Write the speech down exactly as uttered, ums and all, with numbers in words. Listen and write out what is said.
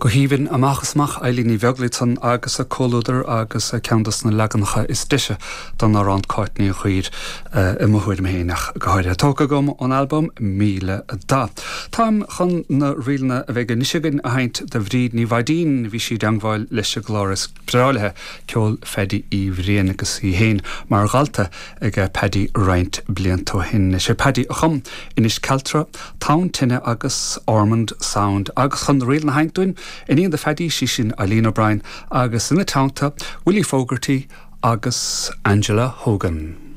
Go haoibhinn amach is amach Eilín Ní Bheaglaoich ansan agus a comhluadar agus ceann des na leaganacha is deise den amhrán Cáit Ní Ghuidhir i mo thuairim féin ach go háirithe. Tógtha agam ón albam Míle Dath. Táim chun na ríleanna a bheidh anois againn a sheinnt do Bhríd Ní Mhaidín bhí sí i dteangmháil leis an gclár is breá léi ceol Phaddy Uí Bhriain agus í féin mar dhalta ag Paddy roinnt blianta ó shin. Sé Paddy a chum Inis Cealtra, Tonn Tine agus Ormond Sound agus chun na ríleanna a sheinnt dúinn Iníon do Phaddy sí sin Eileen O'Brien agus ina teannta Willie Fogarty agus Angela Hogan.